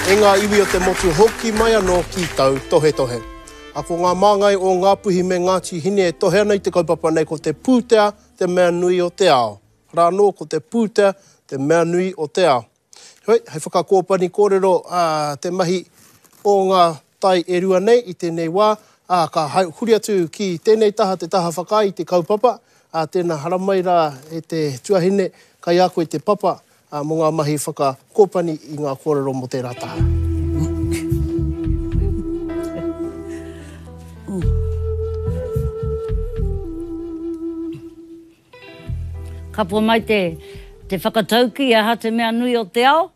E ngā iwi o te motu hoki mai anō ki tautohetohe. A ko ngā māngai o Ngāpuhi me Ngāti Hine e tohe ana i te kaupapa nei ko te pūtea te mea nui o te ao. Rā anō ko te pūtea te mea nui o te ao. Heoi, hei whakakōpani kōrero te mahi o ngā tai e rua nei i tēnei wā, ā, ka huri atu ki tēnei taha, te taha whakaae i te kaupapa, ā, tēnā haramai rā e te tuahine, kai a koe te papa, ā, mō ngā mahi whakakōpani i ngā kōrero mō tērā taha. Kapua mai te te whakataukī, aha te mea nui o te ao?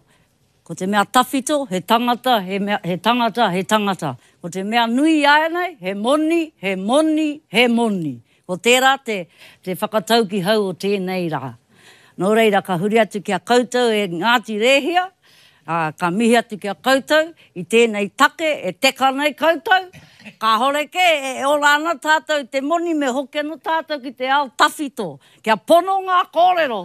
Ko te mea tawhito, he tangata, he mea, he tangata, he tangata. Ko te mea nui āianei, he moni, he moni, he moni. Ko tērā te, te whakatauki hou o tēnei rā. Nō reira, ka huri atu ki a koutou e Ngāti Rēhia, ā, ka mihi atu ki a koutou i tēnei take e teka nei koutou, kāhore kē e ora ana tātou i te moni me hoki anō tātou ki te ao tawhito. Kia pono ngā kōrero!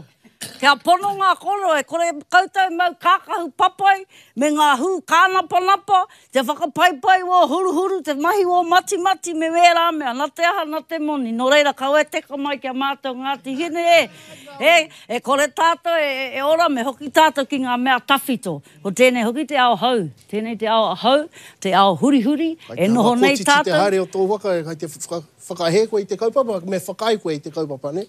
Kia pono ngā kōrero, e kore koutou e mau kākahu papai me ngā hū kānapanapa, te whakapaipai wō huruhuru, te mahi wō matimati me wērā mea, na te aha, na te moni. Nō reira, kaua e teka mai ki a mātou Ngāti Hine, e, e, e kore tātou e, e ora, me hoki tātou ki ngā mea tawhito. Ko tēnei hoki te ao hou, tēnei te ao hou, te ao hurihuri, e noho nei tātou. Kai te kotiti te haere o tō waka, kai te whakahē koe i te kaupapa, me whakaae koe i te kaupapa, nē?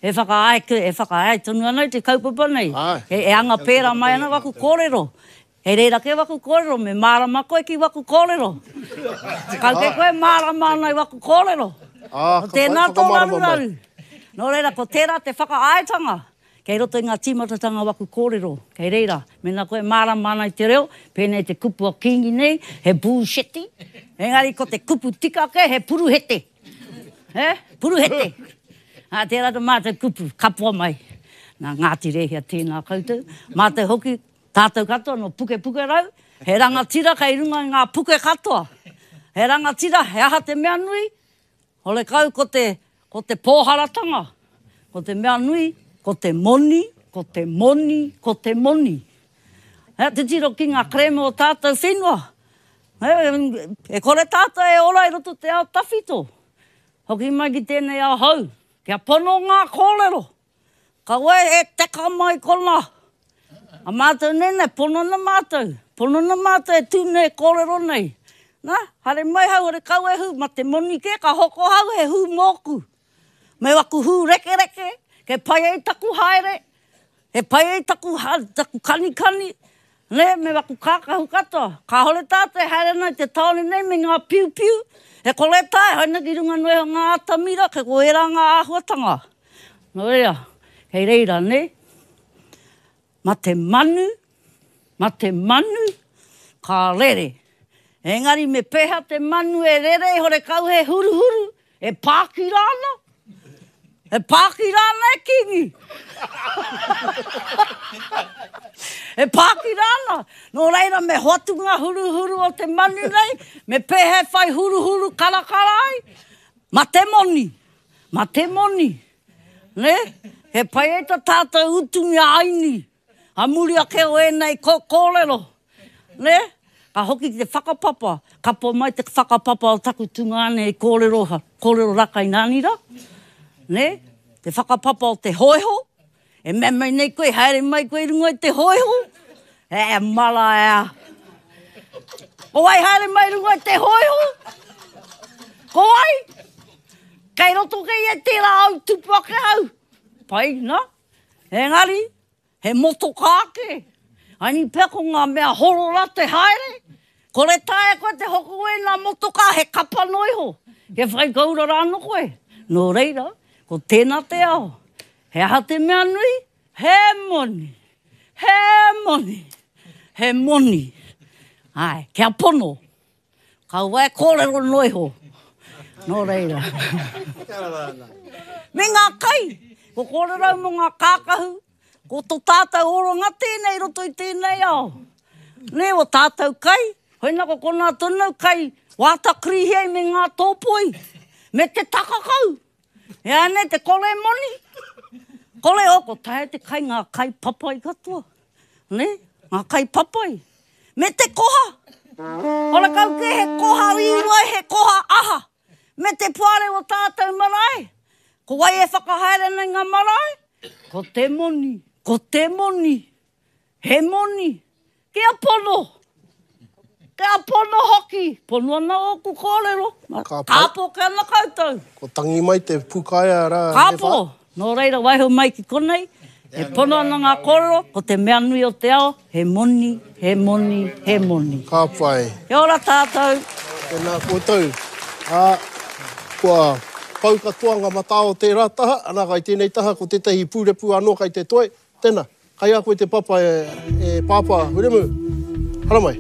E whakaae, e whakaae tonu ana i te kaupapa nei. E anga pērā mai ana waku kōrero. He reira kē waku kōrero, me mārama koe ki waku kōrero. Kau kē koe e mārama ana i waku kōrero. Ko tēnā tō raruraru. Nō reira, ko tērā te whakaaetanga. Kei roto i ngā tīmatatanga waku kōrero. Kei reira, mēnā koe e mārama ana i te reo, pēnei te kupu a Kīngi nei, he būsheti, engari ko te kupu tika kē, he puruhete. He? Puruhete. Ā, tērā ta mātou kupu, kapoa mai. Nā Ngāti Rēhia tēnā koutou. Mātou hoki, tātou katoa nō Pukepukerau, he rangatira kei runga i ngā puke katoa. He rangatira, he aha te mea nui? Horekau ko te, ko te pōharatanga. Ko te mea nui, ko te moni, ko te moni, ko te moni. He, titiro ki ngā kerēme o tātou whenua. E kore tātou e ora i roto te ao tawhito. Hoki mai ki tēnei ao hou. Kia pono ngā kōrero. Kaua e teka mai kona. A mātou nei, nei, pono ana mātou. Pono ana mātou e tū nei, e kōrero nei. Na, haere mai hau, hore kau e hū, ma te moni kē, ka hoko hau he hū mōku. Me waku hū rekereke, kei pai ai taku haere. He pai ai taku, taku kanikani, nē, me waku kākahu katoa. Kāore tātou e haere ana i te tāone nei me ngā piupiu, e kore tae, haere ana ki runga noa iho ngā atamira, kei ko ērā ngā āhuatanga. Nō reira, kei reira, nē, ma te manu, ma te manu, ka rere. Engari me pēhea te manu e rere horekau he huruhuru, E pākira ana? E pākira ana e Kingi? E pākira ana? Nō reira me hoatu ngā huruhuru o te manu nei, me pēhea e whai huruhuru karakara ai? Ma te moni! Ma te moni! Nē? He pai ai ta tātou utu i a Aini. A muri ake o ēnei kōrero, nē, ka hoki ki te whakapapa, kapo mai te whakapapa o taku tungāne i kōrero, kōrero Rakainānira, nē, te whakapapa o te hōiho, e mea mai nei koe, haere mai koe i runga i te hōiho, e mara e a. Ko wai haere mai i runga i te hōiho? Ko wai? Kei roto kei e tērā au tupu ake au. Pai, nā? Engari, he motokā kē. Aini pea ko ngā mea horora te haere, kore taea koe te hoko ēnā motokā, he kapa noa iho, kia whai koura rānō koe. Nō reira, ko tēnā te ao. He aha te mea nui? He moni! He moni! He moni! Āe, kia pono! Kaua e kōrero noa iho. Nō reira. Me ngā kai. Ko kōrero au mō ngā kākahu. Ko tō tātou oranga tēnei i roto i tēnei ao. Nē, o tātou kai. Hoina ko konā tonu au kai wāta krihi ai me ngā tōpoi. Me te takakau. E anei te kore moni. Kore o, ko taea te kai ngā kai papai katoa. Nē, ngā kai papai. Me te koha! Horakau kē he koha rīwai, he koha aha! Me te poare o tātou marae! Ko wai e whakahaere ana i ngā marae? Ko te moni, ko te moni! He moni! Kia pono! Kia pono hoki! Pono ana ōku kōrero. Kāpō kē ana koutou. Ko tangi mai te pūkaea rā e whā. Kāpō! Nō reira waiho mai ki konei, e pono ana ngā kōrero, ko te mea nui o te ao, he moni, he moni, he moni. Ka pai. Kia ora tātou. Tēnā koutou. Ā, kua pau katoa ngā matā o tērā taha, ana kai tēnei taha ko tētahi pūrepu anō kai te toe. Tēnā. Kai a koe te papa e Pāpā Wiremu. Haramai.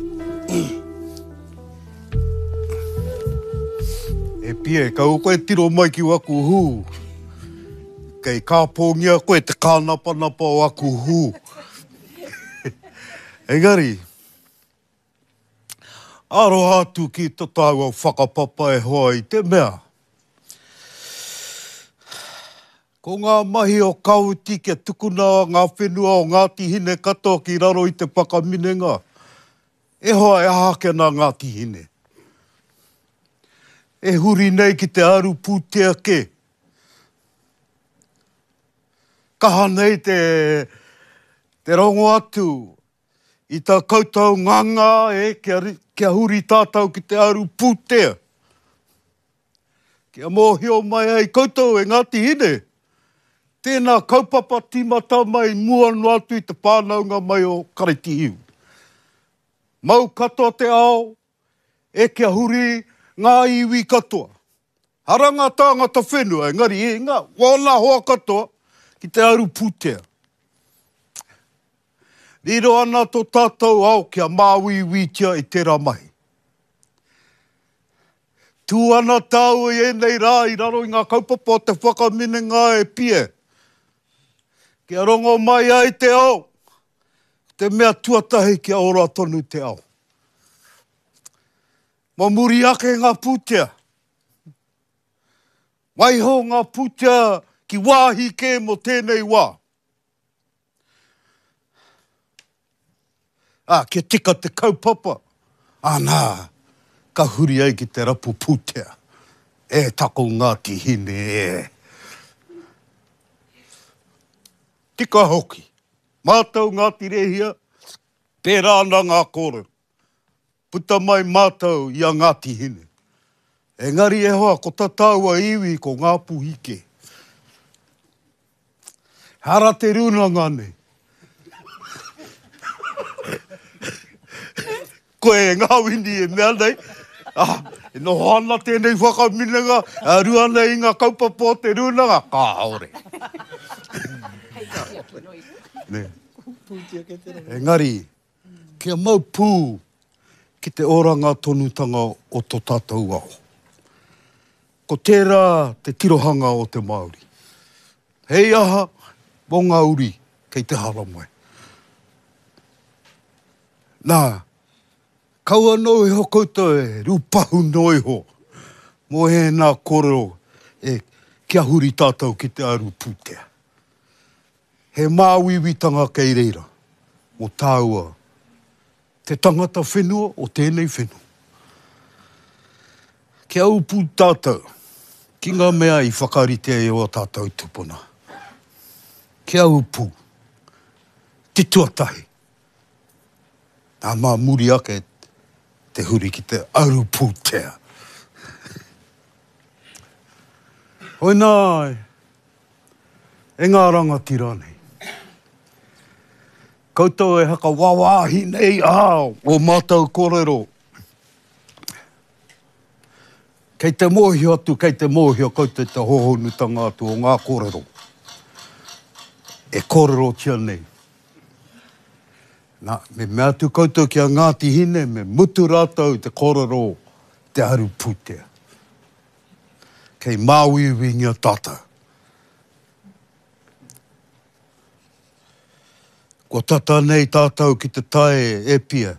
E Pie, kaua koe tiro mai ki waku hū. Kei kāpōngia koe te kānapanapa o aku hū. Engari, aroha atu ki to tāua whakapapa e hoa i te mea, Ko ngā mahi o Kawiti kia tukuna ngā whenua o Ngāti Hine katoa ki raro i te whakaminenga, e hoa e aha ake ana Ngāti Hine? E huri nei ki te aru pūtea kē. Kaha nei te, te rongo atu i tā koutou nganga e kia, kia huri tātou ki te aru pūtea. Kia mōhio mai ai koutou e Ngāti Hine, tēnā kaupapa tīmata mai mua noa atu i te whānaunga mai o Karaipihiu. Mau katoa te ao, e kia huri ngā iwi katoa. Hara ngā tāngata whenua, engari e ngā, wōna hoa katoa ki te aru pūtea. Riro ana tō tātou ao kia māuiuitia i tērā mahi. Tū ana tāua i ēnei rā i raro i ngā kaupapa o te whakaminenga e Pie. Kia rongo mai ai te ao, ko te mea tuatahi kia ora tonu te ao. Mō muri ake ngā pūtea. Waiho ngā pūtea ki wāhi kē mō tēnei wā. Ā, kia tika te kaupapa, āna, ka huri ai ki te rapu pūtea. E tako Ngāti Hine, e. Tika hoki. Mātou Ngāti Rēhia, pērā ana ngā kōrero. Puta mai mātou i a Ngāti Hine. Engari e hoa, ko ta tāua iwi ko Ngāpuhi kē. Hara te rūnanga nei. Koe e Ngāwini e mea nei, ah, e noho ana tēnei whakaminenga, a rua nei i ngā kaupapa o te rūnanga, kāore. Nē. Engari, Kia mau pū ki te oranga tonutanga o to tātou ao. Ko tērā te tirohanga o te Māori. Hei aha mō ngā uri kei te haramai. Nā, kaua noa iho koutou e rūpahu noa iho mō ēnā kōrero e kia huri tātou ki te aru pūtea. He māuiuitanga kei reira mō tāua te tangata whenua o tēnei whenua. Kia ū pū tātou ki ngā mea i whakaritea e ō tātou tūpuna. Kia ū pū. Te tuatahi, nā mā muri ake te huri ki te aru pūtea. Hoinā, E ngā rangatira nei. Koutou e hakawāwāhi nei ā ō mātou kōrero. Kei te mōhio atu, kei te mōhio koutou te hōhonutanga atu o ngā kōrero e kōrerotia nei. Nā, me mea atu koutou ki a Ngāti Hine, me mutu rātou te kōrero te aru pūtea. Kei māuiuingia tātou. Kua tata nei tātou ki te tae e pia.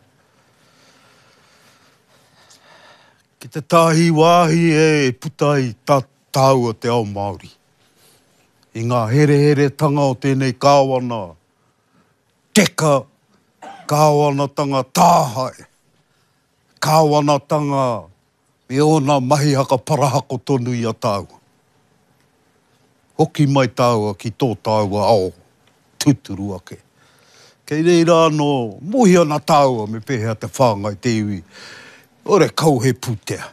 Ki te tāhi wāhi e puta ai tā tāua te ao Māori. I ngā hereheretanga o tēnei kāwana teka. Kāwanatanga tāhae, kāwanatanga me ōna mahi hakaparahako tonu i a tāua. Hoki mai tāua ki tō tāua ao tūturu ake. Kei reira anō, mōhio ana tāua me pēhea te whāngai te iwi, ore kau he pūtea.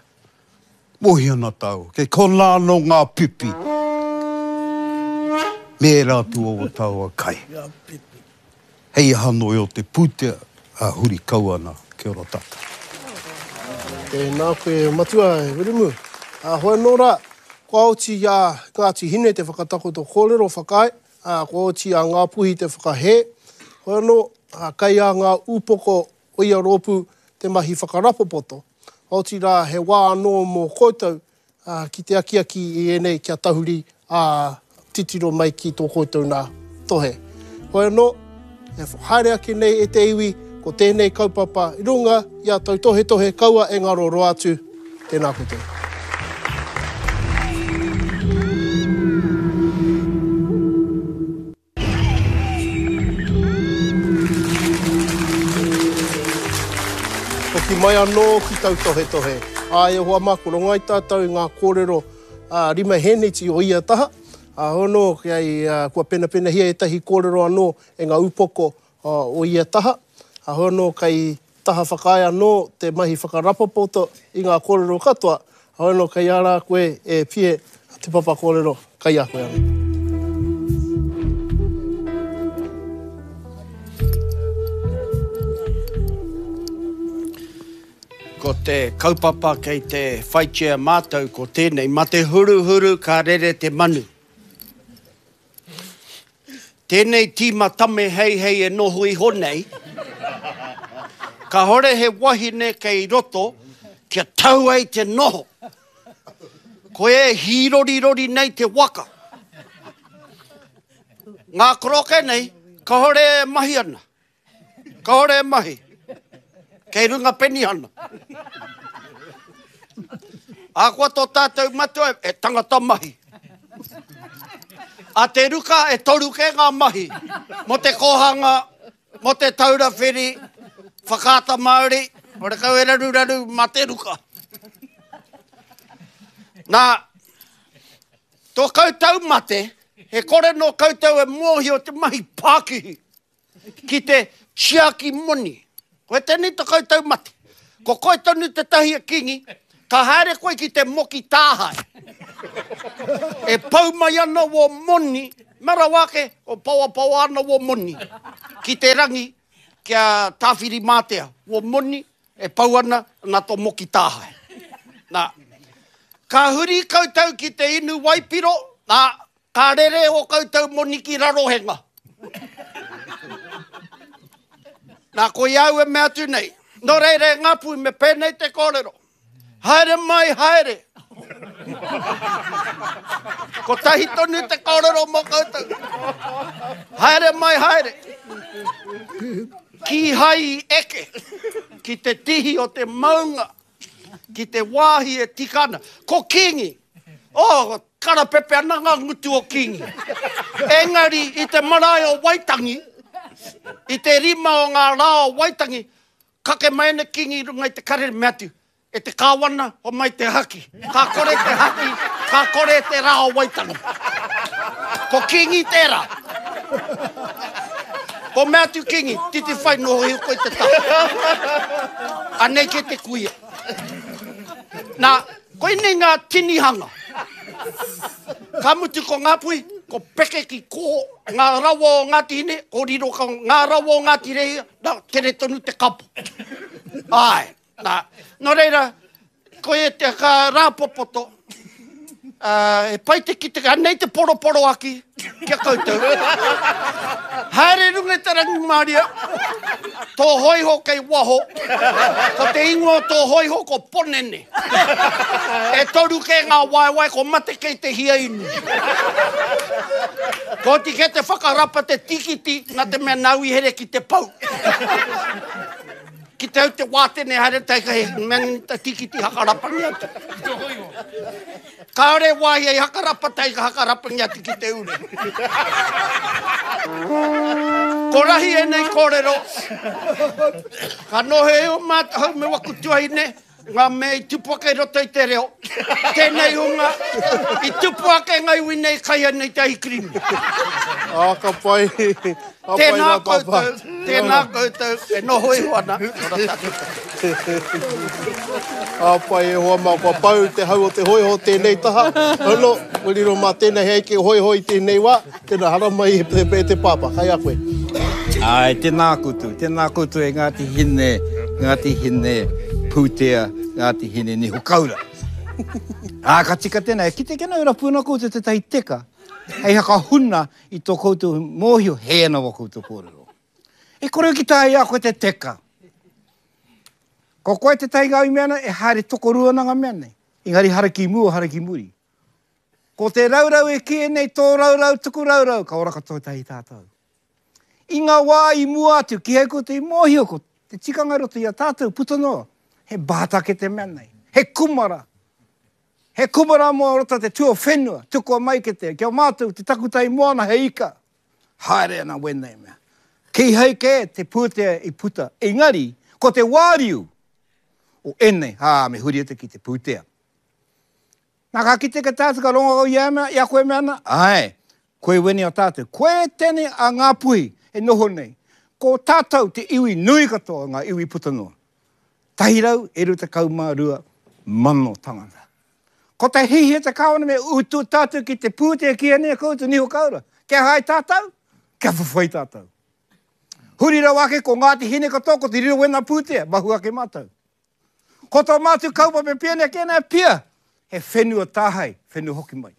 Mōhio ana tāua, kei konā anō ngā pipi me ērā atu o ō tāua kai. Hei aha noa o te pūtea, ā, huri kau ana, kia ora tātou. Tēnā koe e Matua, e Wiremu. Ā, hoi anō rā, kua oti i a Ngāti Hine te whakatakoto kōrero whakaae, ā, kua oti i a Ngāpuhi te whakahē. Hoi anō, ā, kei a ngā ūpoko o ia rōpū te mahi whakarapopoto. Otirā, he wā anō mō koutou ki te akiaki i ēnei kia tahuri, ā, titiro mai ki tō koutou nā tohe. Hoi anō, e haere ake nei e te iwi, ko tēnei kaupapa i runga i a tautohetohe kaua e ngaro roa atu. Tēnā koutou. Hoki mai anō ki tautohetohe. Āe e hoa mā, ko rongo ai tātou i ngā kōrero ā, hēneti o ia taha. Ā, hono, kei, kua penapenahia ētahi kōrero anō e ngā upoko o ia taha. Ā, hono, kei taha whakaae anō te mahi whakarapopoto i ngā kōrero katoa, heoi anō kei a rā koe e Pie te papa kōrero, kei a koe anō. Ko te kaupapa kei te whaitia mātou ko tēnei, ma te huruhuru ka rere te manu. Tēnei tīma tame heihei e noho iho nei, kāore he wahine kei roto kia tau ai te noho. Koia e hīrorirori nei te waka. Ngā koroke nei, kāore e mahi ana. Kāore e mahi. Kei runga penihana. Ahakoa tō tātou matua e tangata mahi. A Te Ruka e toru kē ngā mahi mō te kōhanga, mō te taura whiri, whakaata Māori, horekau e raruraru mā Te Ruka. Nā, tō koutou mate, he kore nō koutou e mōhio te mahi pākihi. ki te tiaki moni. Koe tēnei to koutou mate. Ko koe tonu tētahi e Kingi, ka haere koe ki te moki tāhae. E pau mai ana wō moni, mea rawa ake, ko paoapaoa ana wō moni ki te rangi kia Tāwhirimātea, wō moni e pau ana nā tō moki tāhae. Nā, ka huri koutou ki te inu waipiro, nā, Ka rere ō koutou moni ki Rarohenga. Nā, koia au e mea atu nei. Nō reira e Ngāpuhi, me pēnei te kōrero. Haere mai, haere. Kotahi tonu te kōrero mō koutou. Haere mai, haere. Kīhai i eke ki te tihi o te maunga ki te wāhi e tika ana. Ko Kīngi! Oh, karapepe ana ngā ngutu o Kīngi. Engari, i te marae o Waitangi, i te rima o ngā rā o Waitangi, kake mai ana Kīngi i runga i te karere, mea atu, E te Kāwana, homai te haki. Ka kore te haki, ka kore te rā o Waitangi. Ko Kīngi tērā. Ko mea atu Kingi, titi whai noho iho koe te taha. Anei ke te kuia. Nā, koinei ngā tinihanga. Ka mutu ko Ngāpuhi, ko peke ki kō, ngā rawa o Ngāti Hine, ko riro ka ngā rawa o Ngāti Rehia, nā, tere tonu te kapo. Āe. Nā, nō reira, koia te ka rāpopoto, ā, he pai te kite, anei te poroporoaki ki a koutou. Haere i runga i te rangimārie, tō hōiho kei waho, ko te ingoa o tō hōiho ko Ponene. E toru kē ngā waewae, ko mate kei te hia inu. Kua oti kē te whakarapa te tīkiti, nā te mea nāu i here ki te pou. Ki te au te wātene haere tai ka he mea ta tikiti hakarapangi atu. Kāore wāhi ai hakarapa tai ka hakarapangi atu ki te ure. Ko rahi ēnei kōrero, ka noho e o mātou me waku tuahine, ngā mea i tupu ake i roto i te reo, tēnei hunga i tupu ake ngā iwi nei kai ana i te ahikirimi. Ā, ka pai, ka pai Tēnā rā, Pāpā. koutou, tēnā koutou e noho iho ana. Ora tātou. Ka pai e hoa mā, kua pau te hau o te hōiho tēnei taha. Hono, kua riro mā tēnei hei eke hōiho i tēnei wā. Tēnā, haramai e te, e te pāpā, kai a koe. Āe, tēnā koutou, tēnā koutou e Ngāti Hine, Ngāti Hine, Pūtea, Ngāti Hine Niho Kaura. Ā, ka tika tēnā, e kite kena e rapu ana koutou tētahi teka, hei hakahuna i tō koutou mōhio, hē ana wā koutou kōrero. E kore ki taea i a koe te teka. Ko koe tētahi ngā i mea ana, e haere tokorua ana ngā mea nei. Engari hara ki mua, hara ki muri. Ko te raurau e kīia nei tō raurau tuku raurau, ka ora katoa tahi tātou. I ngā wā i mua atu, kīhai koutou i mōhio ko te tikanga i roto i a tātou, puta noa, he bātake te mea nei, he kumara. He kumara mō roto te tuawhenua, tukua mai ki te, ki a mātou, te takutai moana he ika. Haere ana wēnei mea. Kīhai kē te pūtea i puta, engari, ko te wāriu o ēnei, ā, me huri atu ki te pūtea. Na ka kite ke tātou ka rongo au i a mea, i a koe mea ana, ae, koe wene o tātou, koe tene a Ngāpuhi e noho nei, ko tātou te iwi nui katoa o ngā iwi puta noa. 122,000 tangata. Ko te hihi te kāwana me utu tātou ki te pūtea ki ēnei koutou niho kaura. Kia hae tātou, kia whawhai tātou. Huri rawa ake ko Ngāti Hine katoa ko te riro wena pūtea, mahu ake mātou. Ko tō mātou kaupapa e pia nei ki ēnei pia, he whenua tāhae, whenua hoki mai.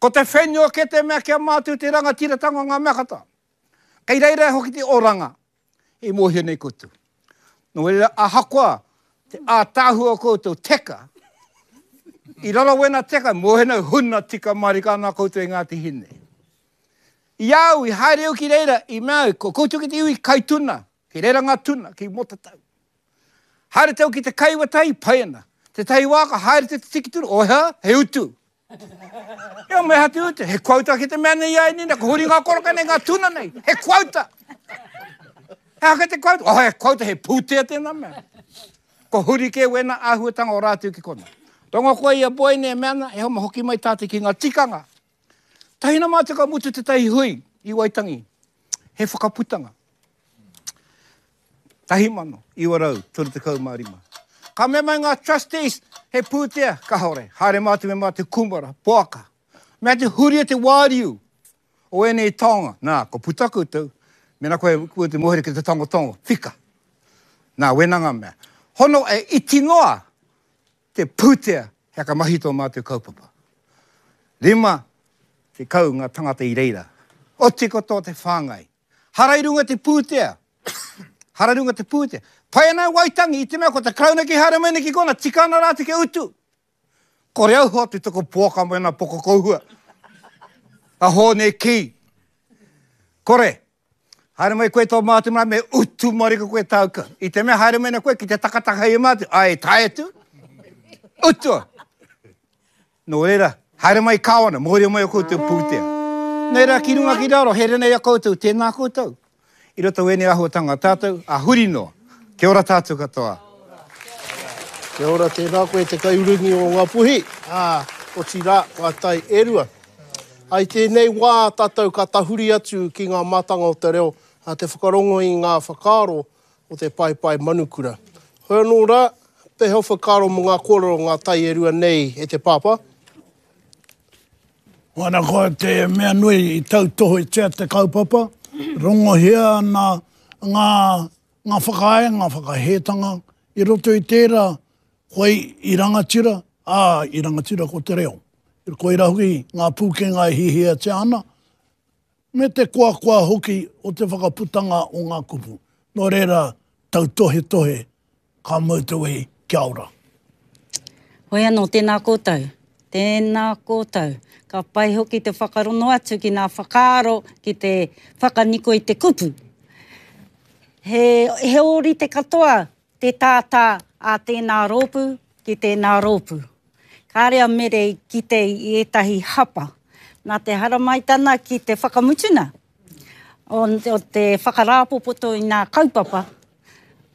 Ko te whenua kē te mea ki a mātou te rangatiratanga o ngā mea katoa. Kei reira hoki te oranga e mōhio nei koutou. Nō reira, ahakoa te ātaahua o koutou teka, i raro wena teka, mōhio nei huna tika mārika ana koutou e Ngāti Hine. I a au, i haere au ki reira, i mea au, ko koutou ki te iwi kai tuna, kei reira ngā tuna, ki Motatau. Haere tau ki te kai wetahi, pai ana. Tetahi wā ka haere te tiki tuna, oh hea, he utu. Ea me aha te utu, he quota ki te mea nei ai nina, ko huri ngā koroka nei, ngā tuna nei, he quota. He aha te quota? Oh, he quota, he pūtea tēnā mea. Ko huri kē wēnā āhuatanga o rātou ki kona. Rongo koe i a Boy nei e mea ana, e homa hoki mai tātou ki ngā tikanga. Tahi na mātou ka mutu tētahi hui i Waitangi, he whakaputanga. 1935. Ka mea mai ngā trustees, he pūtea, kahore, haere mātou me mātou kūmara, poaka. Mea te huria te wāriu o ēnei taonga. Nā, ko puta koutou, mena koe koe te mōhio ki te tangotango, whika. Nā, wena ngā mea. Hono e iti noa te pūtea he aka mahi tō mātou kaupapa. 50 ngā tangata i reira. Oti katoa te whāngai. Hara i runga te pūtea. Hara i runga te pūtea. Pai ana e Waitangi i te mea ko te Karauna ki haere mai nei ki kona, tika ana rātou kia utu. Kore au hoatu taku poaka me ana poko kouhua. A Hōne Kī. Kore. Haere mai koe tō mātou marae me utu marika koe tāu ka. I te mea haere mai nei koe ki te takataka i a mātou, ai tae atu. Utua. Nō reira, haere mai Kāwana, mōhio mai o koutou pūtea. Nei rā, ki runga ki raro, here nei a koutou, tēnā koutou. I roto wēnei āhuatanga tātou, ā, huri noa. Kia ora tātou katoa. Kia ora, tēnā koe te kaiurungi o Ngāpuhi, ā, otirā, ngā tai e rua. Ā, i tēnei wā tātou ka tahuri atu ki ngā mātanga o te reo, ā, te whakarongo i ngā whakaaro o te paepae manukura. Hoi anō rā, pēhea o whakaaro mō ngā kōrero ngā tai e rua nei e te pāpā? Ana ko te mea nui i tautohetia te kaupapa, rongohia ana ngā, ngā whakae, ngā whakahētanga i roto i tērā, koe i rangatira, ā, i rangatira ko te reo. Koirā hoki ngā pūkenga e hihiatia ana, me te koakoa hoki o te whakaputanga o ngā kupu. Nō reira, tautohetohe, ka mau te wehi, kia ora. Hoi anō, tēnā koutou. Tēnā koutou. Ka pai hoki te whakarono atu ki ngā whakaaro ki te whakaniko i te kupu. He, he ōrite katoa te tātā a tēnā rōpū ki tēnā rōpū. Kāre a Mere i kite i ētahi hapa. Nā te haramaitana ki te whakamutuna. O, o te whakarāpopoto i nā kaupapa,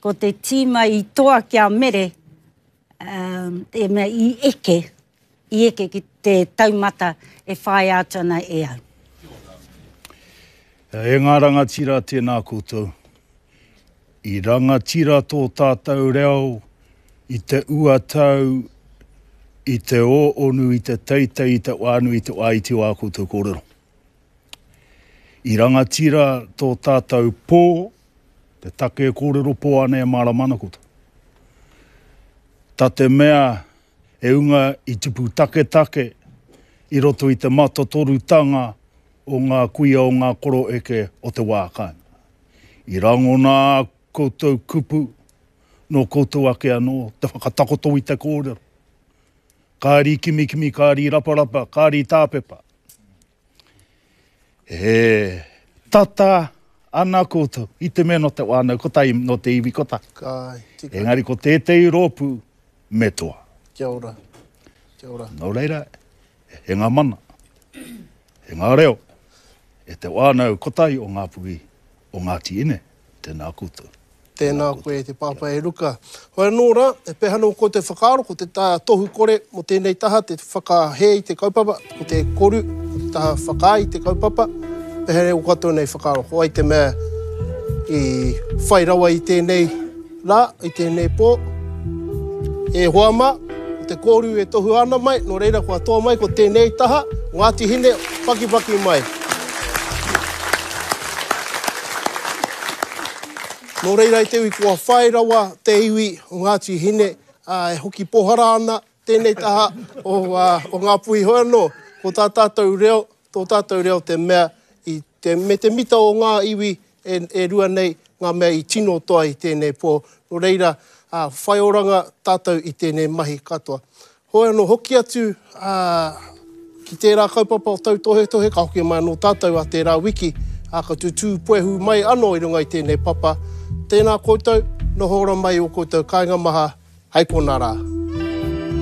ko te tīma i toa ki a Mere, um, te mea i eke, i eke ki te taumata e whāia atu ana e au. E ngā rangatira tēnā koutou. I rangatira tō tātou reo i te uatau, i te ōonu, i te teitei, i te wānui, i te wā iti o ā koutou kōrero. I rangatira tō tātou pō, te take e kōrero pō ana e mārama ana koutou. Ta te mea he unga i tupu taketake i roto i te matotorutanga o ngā kuia o ngā koroeke o te wā kāinga. I rangona ā koutou kupu nō koutou ake anō te whakatakoto i te kōrero. Kāri kimikimi, kāri raparapa, kāri tāpepa. E tata ana koutou i te mea nō te whānau kotahi, nō te iwi kotahi. Ka tika. Engari ko tētehi rōpū me toa. Kia ora. Kia ora. Nō reira, e ngā mana, e ngā reo, e te whānau kotahi o Ngāpuhi, o Ngāti Ine, tēnā koutou. Tēnā koe e te pāpā e Ruka. Hoi anō rā, e pēhea anō koe te whakaaro, ko te tohu kore mō tēnei taha, te whakahē i te kaupapa, ko te koru, ko te taha whakaae i te kaupapa, pēhea nei o katoa nei whakaaro, ko wai te mea i whai rawa i tēnei rā, i tēnei pō? E hoa mā, ko te koru e tohua ana mai, nō reira kua toa mai ko tēnei taha, Ngāti Hine, pakipaki mai. Nō reira i te iwi kua whai rawa te iwi o Ngāti Hine, ā, e hoki pōhara ana tēnei taha o, o Ngāpuhi. Hoi anō, ko tā tātou reo, tō tātou reo te mea i te, me te mita o ngā iwi e, e rua nei ngā mea i tino toa i tēnei pō. Nō reira, ā, whai oranga tātou i tēnei mahi katoa. Hoi anō, hoki atu ki tērā kaupapa o tautohetohe, ka hoki mai anō tātou a tērā wiki, ā, ka tutū puehu mai anō i runga i tēnei papa. Tēnā koutou, noho ora mai i ō koutou kāinga maha, hei konā rā.